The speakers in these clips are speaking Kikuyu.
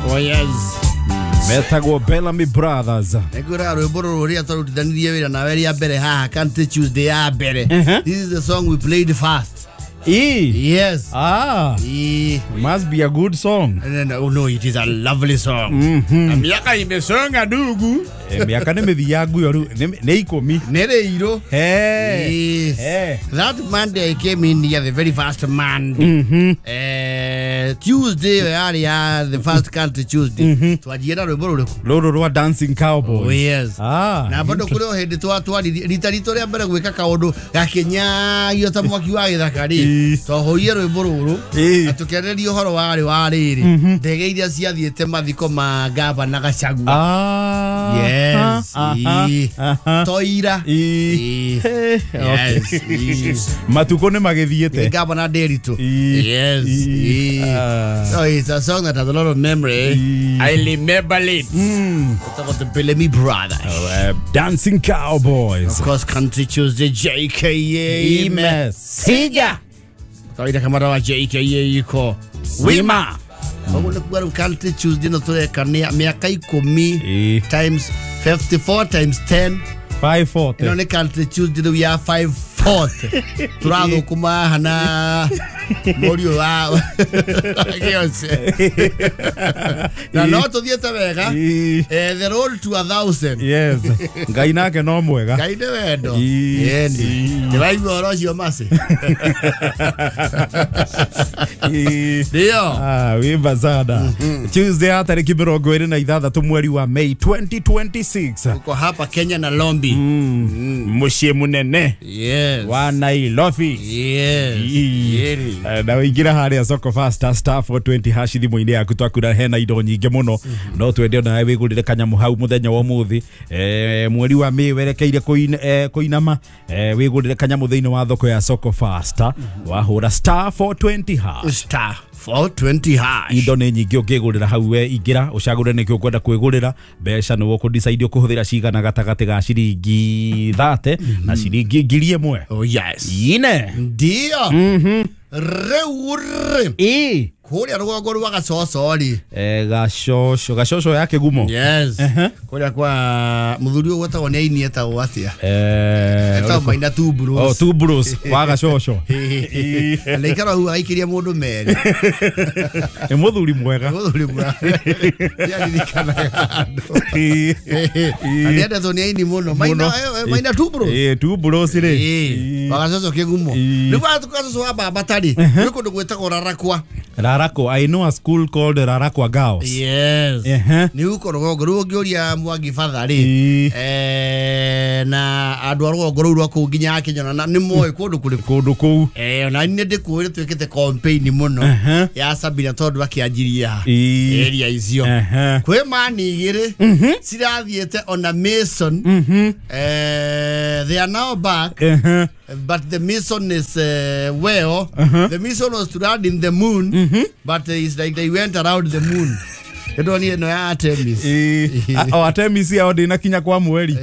Oh yes. Metagwo Bellamy Brothers. Nĩngwĩraga rwĩmbo rũrũ rũrĩa twarutithanirie wĩra nawe rĩa mbere haha Country Tuesday ya mbere. This is the song we played first. E. Yes. Ah. E. Must be a good song. No, no, no, it is a lovely song. Na miaka imesonga ndugu. Miaka nĩ mĩthiangu yo rĩu nĩ ikũmi. Nĩ rĩirũ. Hey. Yes. Hey. That Monday I came in here, the very first Monday. Tuesday yarĩ ya the first Country Tuesday. Twanjie na rwĩmbo rũrĩkũ? Rũrũ rwa Dancing Cowboys. Oh, yes. Ah. Na bado kũrĩ o hĩndĩ twatwaririe rita ritũ rĩa mbere gwĩka kaũndũ gakĩnyagio ta mwaki wa gĩthaka rĩ, twahũrire rwĩmbo rũrũ na tũkĩarĩrĩria ũhoro warĩ wa rĩrĩ ndege iria ciathiĩte mathiko ma gavana Gachagua. Ah. Yes. Toira. Yes. Matukũ nĩ magĩthiĩte. Gavana Nderitu. Yes. So it's a song that has a lot of memory. I remember it. Talk about the Bellamy Brothers. Dancing Cowboys. Of course, Country Tuesday, JKA Mesija. Kawaida kama rawa JKA iko Wima. Koguo nĩ kuga rĩu Country Tuesday no tũreka mĩaka ikũmi times 54 times 10 540. Ĩno nĩ Country Tuesday rĩu ya 540. Tũrathũkũma haha na mũriũ wa Gĩoce. Na no tũthiĩte wega. The road to 1,000. Yes. Ngai nake no mwega. Ngai nĩ wendo. Ĩni. Nĩwaigua ũhoro ũcio Mercy? Ndio. Ah, wimba sana. Tuesday ya tarĩki 26 mweri wa May 2026. Uko hapa Kenya na Lombi. Mũciĩ mũnene. Yes. Wa Nairobi. Yes. Na wĩingĩra harĩa Soko Fasta star 420 hash thimũ-inĩ yaku twakura hena indo nyingĩ mũno no twende onawe wĩgũrĩre kanyamũ hau mũthenya wa ũmũthĩ mweri wa May werekeire kũinama wĩgũrĩre kanyamũ thĩinĩ wa thoko ya Soko Fasta wahũra star 420 hash. Star 420 hash. Indo nĩ nyingĩ ũngĩgũrĩra hau we ingĩra ũcagũre nĩkĩ ũkwenda kwĩgũrĩra mbeca nĩ ũkũ-decide ũkũhũthĩra cigana gatagatĩ ga ciringi 30 na ciringi 1,000. Oh yes. Ine. Ndio. Rĩu rĩ. Kũrĩa rũgongo rwa Gacoco rĩ. Gacoco, Gacoco ya Kĩgumo. Yes. Kũrĩa kwa mũthuri ũyũ gwetagwo nĩ aini etagwo atĩa? Etagwo Maina Two Bros. Oh, Two Bros wa Gacoco. Na ikara hau aikĩria mũndũ merĩ. Nĩ mũthuri mwega. Mũthuri mwega. Nĩaririkanaga andũ. Na nĩendetwo nĩ aini mũno. Maina Two Bros. Two Bros rĩ. Wa Gacoco Kĩgumo. Rĩu Gacoco wa Baba tarĩ. Nĩ kũndũ gwĩtagwo Rarakwa. Rarakwa. I know a school called Rarakwa Girls. Yes. Nĩ huko rũgongo rũu ũngĩũria Mwangi Batha rĩ na andũ a rũgongo rũu rwa kũu nginya Kenya na nĩ moĩ kũndũ kũrĩkũ. Kũndũ kũu. Ona niĩ ndĩkũĩ twĩkĩte campaign mũno ya Sabina tondũ akĩanjirie area icio. Kwĩ mani igĩrĩ cirathiĩte ona Mason. They are now back. But the mission is well, the mission was to land in the moon, but it's like they went around the moon. You don't need no Artemis. Oh, Artemis yao ndĩnakinya kwa mweri.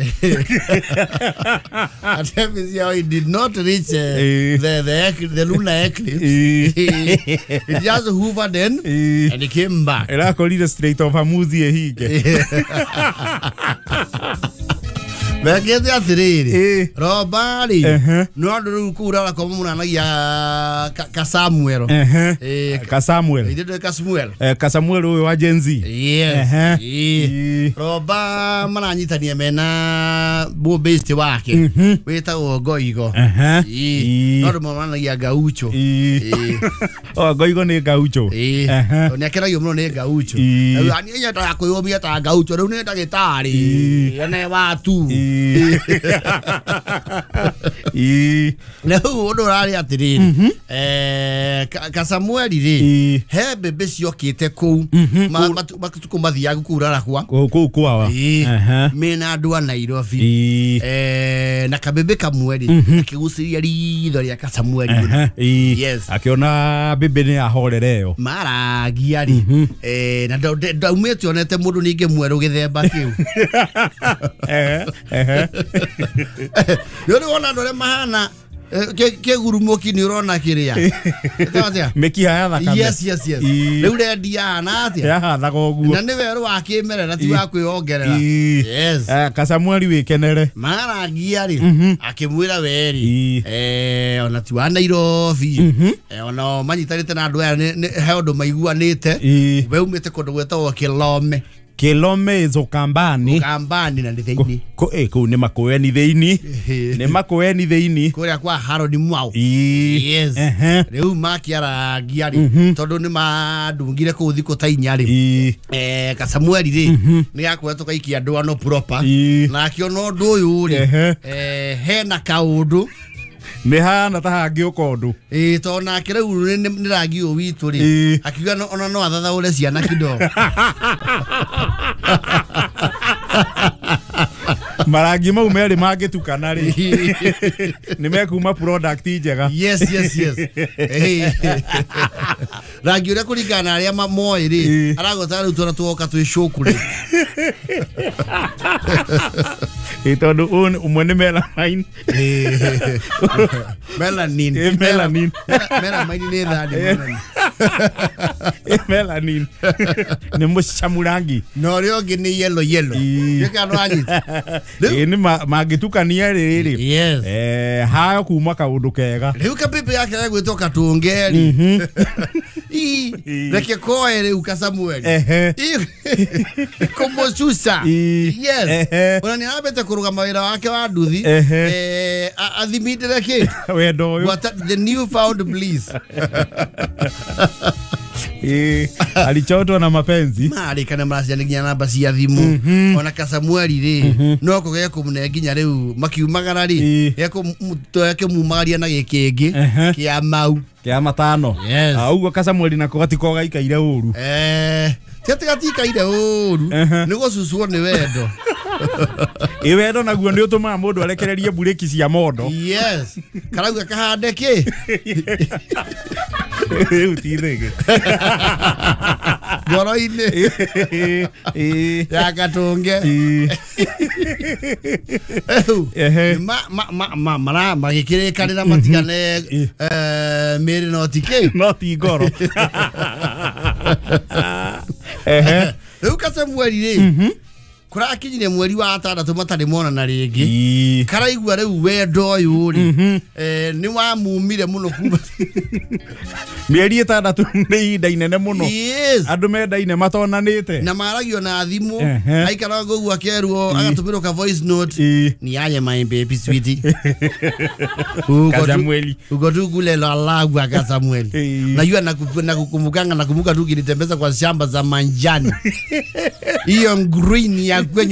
Artemis yao it did not reach the lunar eclipse. It just hovered in and it came back. Ĩrakorire Strait of Hormuz ĩhinge. Mekĩte atĩrĩrĩ Roba rĩ no andũ rĩu kũu Rarakwa mũnanagia ka Samuel. Ka Samuel. Ithuĩ ka Samuel. Ka Samuel ũyũ wa Gen Z. Yes. Roba maranyitania mena based wake wĩtagwo Ngoigo. No andũ monanagia Gaucho. Oh, Ngoigo nĩ Gaucho. Nĩ akenagio mũno nĩ Gaucho. Niĩ nyendaga kwĩyũmia ta Gaucho rĩu nĩ ndagĩtarĩ ene watu. Rĩu ũndũ ũrarĩ atĩrĩrĩ ka Samuel rĩ he mbembe ciokĩte kũu matukũ mathiaga kũu Rarakwa kũu kwawa mena andũ a Nairobi na kabembe kamwe rĩ akĩgucĩrĩria ritho rĩa ka Samuel. Yes. Akĩona mbembe nĩ yahorera ĩyo maragia rĩ na ndaumĩte onete mũndũ ningĩ mwerũ gĩthemba kĩu. Nĩ ũrĩ wona andũ arĩa mahana Kĩgurumoki nĩ ũrona kĩrĩa. Ĩtagwo Mĩkiha ya thakame. Yes, yes, yes. Rĩu rendi yahana atĩa? Yahanaga ũguo. Na nĩ werũ wa kĩmerera ti wa kwĩongerera. Yes. Kasamueli wĩkenere. Marangia rĩ akĩmwĩra weri ona ti wa Nairobi ona manyitanĩte na andũ aya he ũndũ maiguanĩte we umĩte kũndũ gwĩtagwo Kilome. Kilome is Ukambani. Ukambani na nĩ thĩinĩ. Kũu nĩ Makueni thĩinĩ. Nĩ Makueni thĩinĩ. Kũrĩa kwa Harold Mwau. Yes. Rĩu makĩarangia rĩ tondũ nĩ mandungire kũu thikũ ta inya rĩ. Kasamueli rĩ nĩ gakoretwo gaikia ndwano proper. Na akĩona ũndũ ũyũ rĩ hena kaũndũ. Nĩ hana ta hangĩũka ũndũ. Tondũ nake rĩu nĩ rangi ũyũ witũ rĩ akiuga ona no athathaũre ciana kidogo. Marangi mau merĩ mangĩtukana rĩ nĩ mekuma product njega. Yes, yes, yes. Rangi ũrĩa kũringana na arĩa moĩ rĩ aragota rĩu twana tuoka twĩ cũku rĩ. Tondũ ũmwe nĩ melamine. Melanin. Melanin. Melamine nĩ thani melanin. Melanin. Nĩ mũcamu rangi. Na ũrĩa ũngĩ nĩ yellow yellow. Gĩka no anyita. Nĩ mangĩtukania rĩrĩ. Yes. Hayo kuma kaũndũ kega. Rĩu kapipi yake gegwĩtwo Katũngeri. Reke koe rĩu Kasamueli. Kũmũcuca. Yes. Ona nĩ arambĩte kũrũgama wĩra wake wa nduthi. Athimindĩre kĩ? Wendo ũyũ. The new found bliss. Alichotwa na mapenzi. Marĩkana maraciana nginya namba cia thimũ. Ona Kasamueli rĩ no kũgĩa kũmũne nginya rĩu makiumagara rĩ ekũmumagaria na gĩkĩ kĩngĩ kĩa mau. Kĩa matano. Yes. Ũguo Kasamueli nako gatiko gaikaire ũru. Ti atĩ gatikaire ũru nĩ gũcucwo nĩ wendo. Ĩ wendo naguo nĩ ũtũmaga mũndũ arekererie mburĩki cia mondo. Yes. Karauga kahande kĩ? Rĩu ti thĩgĩ. Ngoro-inĩ. Ya Katũnge. Magĩkĩrĩkanĩra matigane mĩĩrĩ no ti kĩ? No ti ngoro. Rĩu Kasamueli rĩ kũrakinyire mweri wa 6 matarĩ monana rĩngĩ. Karaigua rĩu wendo ũyũ rĩ nĩ wamumire mũno kuma mĩeri 6 nĩ ihinda inene mũno. Yes. Andũ mendaine matonanĩte. Na maragio na thimũ aikaraga ũguo akerwo agatũmĩrwo ka voice note. Ni aje my baby sweetie. Kasamueli. Uko tu kule lalagwa Kasamueli. Najua nakukumbukanga nakumbuka tu kinitembeza kwa shamba za manjani. Hiyo green ya kwenye